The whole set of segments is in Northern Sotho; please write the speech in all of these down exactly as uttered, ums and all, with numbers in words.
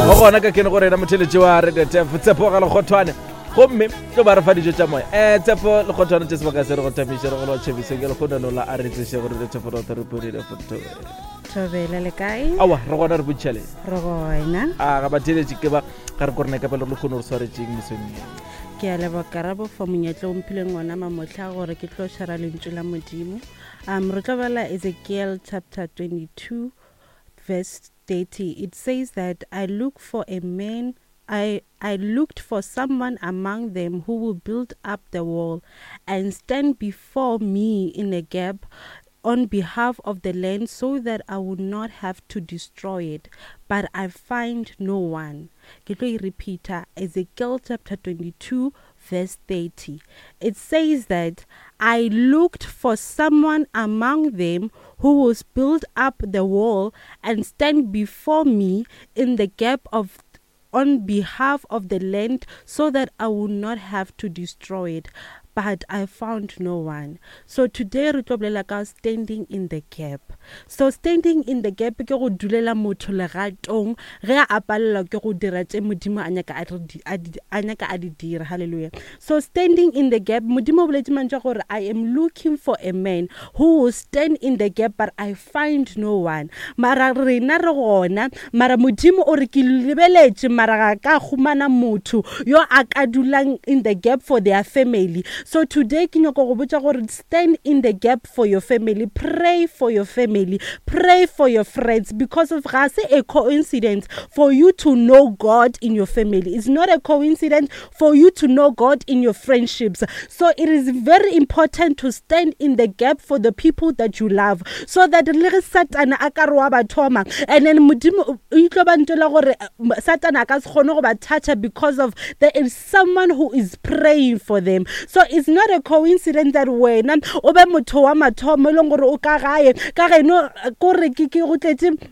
Go gona ka kene go rena motheletši wa Radio Tef Tshepo ga Lekgothwane, gomme tlo ba re fa dijo tša moya. um Tshepo Lekgothwane, tše sebaka se re go thabiše, re go lwa tšhebišo ke lekgonano la a re tseše go Radio Tef rotho re. Thobela, le kae? Awa, re gona, re botšhele. Re gona. A ga batheletši ke ba ga re korena ka pele re le kgone re swaretseng mesong ye. Ke a leboga, Karabo, for monyetla o mphileng ona mamotlha gore ke tlo shara lentšu la Modimo. um re tlo bala Ezekiel chapter twenty-two verse thirty. It says that I look for a man I, I looked for someone among them who will build up the wall and stand before me in a gap on behalf of the land so that I would not have to destroy it, but I find no one. Ke tlo e repeata, Ezekiel chapter twenty-two verse thirty. It says that I looked for someone among them who will build up the wall and stand before me in the gap of on behalf of the land so that I would not have to destroy it, but I found no one. So today re tlo bolela ka standing in the gap. So standing in the gap ke go dulela motho legatong ge a palelwa ke go dira tše Modimo a nyaka a re di- a di- a nyaka a di dira. Hallelujah. So standing in the gap, Modimo o boletse mantšu a gore I am looking for a man who will stand in the gap, but I find no one. Mara rena re gona, mara Modimo o re ke lebeletše, mara ga ka humana motho yo a ka dulang in the gap for their family. So today ke nyaka go botša gore stand in the gap for your family, pray for your family, pray for your friends, because of ga se a coincidence for you to know God in your family. It's not a coincidence for you to know God in your friendships. So it is very important to stand in the gap for the people that you love, so that le ge Satana a ka re wa ba thoma, and then Modimo o itlo ba ntela gore eh, Satana a ka se kgone go ba toucha because of there is someone who is praying for them. So it's not a coincidence that wena o be motho wa mathomo e leng gore o ka gae ka geno kore ke ke go tletse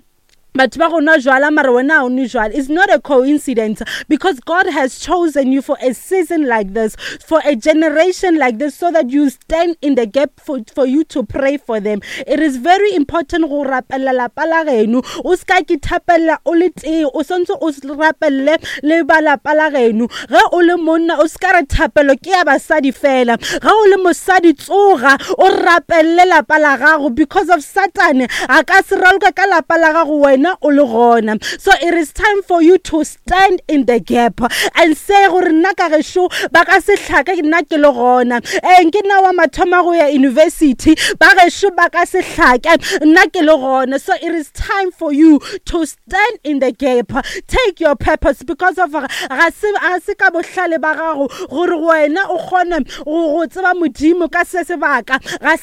batho ba go nwa jwala, mara wena ha o nwe jwala. It's not a coincidence, because God has chosen you for a season like this, for a generation like this, so that you stand in the gap for, for you to pray for them. It is very important go rapella lapa la geno. O se ka ke thapella o le tee, o swantse o rapelle le ba lapa la geno. Ge o le monna, o se ka re thapelo ke ya basadi fela. Ge o le mosadi, tsoga o rapelle lapa la gago, because of Satane a ka se raloka ka lapa la gago wena o le gona. So it is time for you to stand in the gap and say gore nna ka gešo ba ka se hlake nna ke le gona. Ee, ke nna wa mathoma go ya university, ba gešo ba ka se hlake nna ke le gona. So it is time for you to stand in the gap. Take your purpose, because of ga se ga se ka bohlale ba gago gore wena o kgone go go tseba Modimo ka se sebaka. Ga